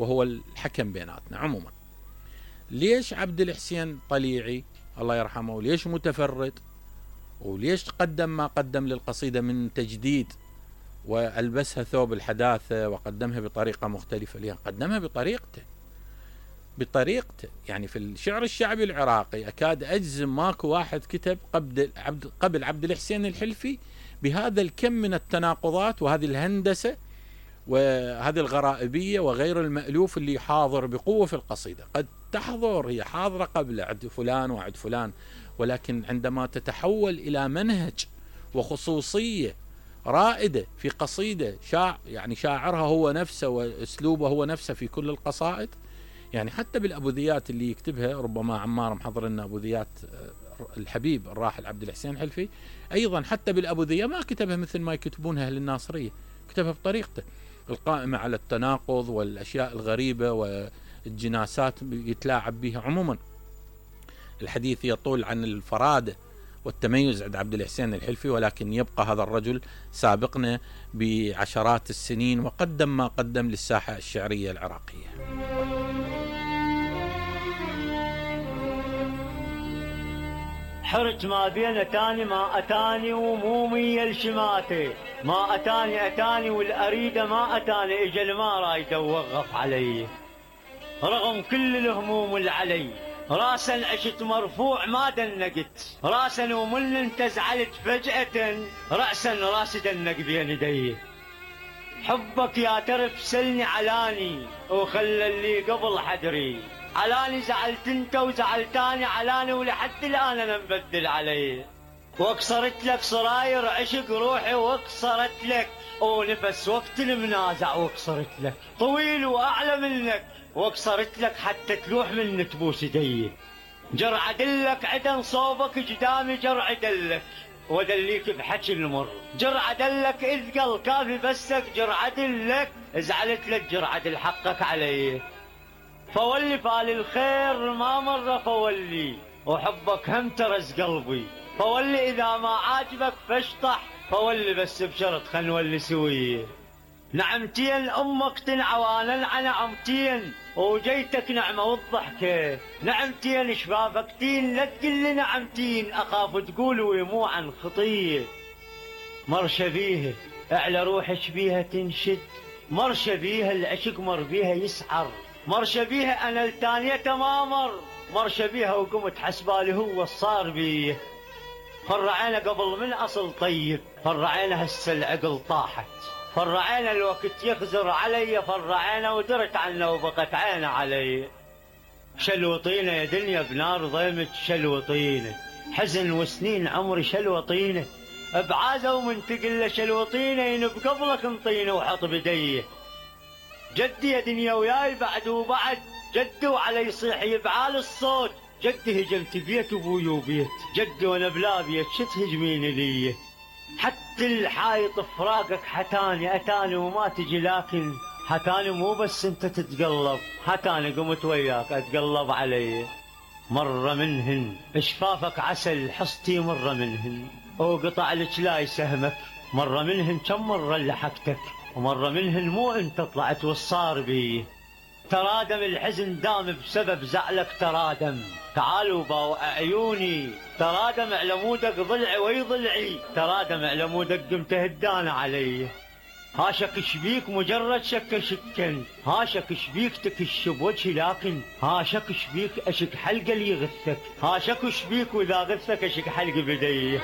وهو الحكم بيناتنا. عموما ليش عبد الحسين طليعي الله يرحمه، وليش متفرد، وليش قدم ما قدم للقصيدة من تجديد وألبسها ثوب الحداثة وقدمها بطريقة مختلفة؟ ليه قدمها بطريقته. يعني في الشعر الشعبي العراقي أكاد أجزم ماكو واحد كتب قبل عبد الحسين الحلفي بهذا الكم من التناقضات وهذه الهندسة وهذه الغرائبية وغير المألوف اللي حاضر بقوة في القصيدة. قد تحضر، هي حاضرة قبل عند فلان وعند فلان، ولكن عندما تتحول إلى منهج وخصوصية رائدة في قصيدة يعني شاعرها هو نفسه وأسلوبه هو نفسه في كل القصائد. يعني حتى بالأبوذيات اللي يكتبها، ربما عمار محضر لنا أبوذيات الحبيب الراحل عبد الحسين الحلفي، أيضا حتى بالأبوذية ما كتبها مثل ما يكتبونها أهل الناصرية، كتبها بطريقته القائمة على التناقض والأشياء الغريبة والجناسات يتلاعب بها. عموما الحديث يطول عن الفرادة والتميز عند عبد الحسين الحلفي، ولكن يبقى هذا الرجل سابقنا بعشرات السنين وقدم ما قدم للساحة الشعرية العراقية. حرت ما بين أتاني ما أتاني ومومي الشماتي، ما أتاني والأريدة ما أتاني، إجل ما رايد ووقف علي رغم كل الهموم اللي علي. راسا عشت مرفوع ما دنقت راسا، ومن انت زعلت فجأة رأسا راس دنق بين يدي. حبك يا ترف سلني علاني وخلى اللي قبل حدري، علاني زعلت انت وزعلتاني علاني، ولحد الآن انا مبدل علي. واكسرت لك صراير عشق روحي واكسرت لك، ونفس وقت المنازع واكسرت لك، طويل واعلى منك واكسرت لك، حتى تلوح من تبوس يدي. جرع دلك عدن صوبك قدامي جرع دلك، ودليك بحكي المر جرع دلك، اذ قل كافي بسك جرع دلك، زعلت لك جرع دل حقك علي. فولي فال الخير ما مر فولي، وحبك هم ترز قلبي، فولي اذا ما عاجبك فاشطح، فولي بس بشرط خل نولي سويه. نعمتين امك تنعوانا عن نعمتين، وجيتك نعمه والضحكه، نعمتين شبابكتين لا تقل لي نعمتين، اخاف تقول ويمو عن خطيه. مرشه بيها اعلى روحك بيها تنشد، مرشه بيها العشق مر بيها يسعر، مرشه بيها انا التانيه تمامر، مرشه بيها وقمت حسبالي هو الصار بيه. فرعينا قبل من اصل طيب، فرعينا هسه العقل طاحت، فرعينا الوقت يخزر علي، فرعينا ودرت عنه وبقت عينه علي. شلوطينه يا دنيا بنار ضيمك شلوطينه، حزن وسنين عمري شلوطينه، بعازه ومن تقله شلوطينه، ينب قبلك انطينه وحط بديه. جدي يا دنيا وياي بعد وبعد، جدي وعلي يصيح يبعال الصوت، جدي هجمت بيت ابوي وبيت، جدي وانا بلا بيت شو تهجميني ليه. حتى الحايط فراقك حتاني اتاني وما تجي، لكن حتاني مو بس انت تتقلب، حتاني قمت وياك اتقلب علي. مرة منهن شفافك عسل حصتي مرة منهن، وقطع لك لاي سهمك، مرة منهن كم مرة لحقتك، ومرة منهن مو انت طلعت والصار بي. ترادم الحزن دام بسبب زعلك ترادم، تعالوا باو عيوني ترادم على مودك ضلعي وي ضلعي، ترادم على مودك قمت هدان علي. هاشك شبيك مجرد شك شكن، هاشك شبيك تكش بوجهي، لكن هاشك شبيك اشك حلقه اللي يغثك، هاشك شبيك واذا غثك اشك حلق بديه.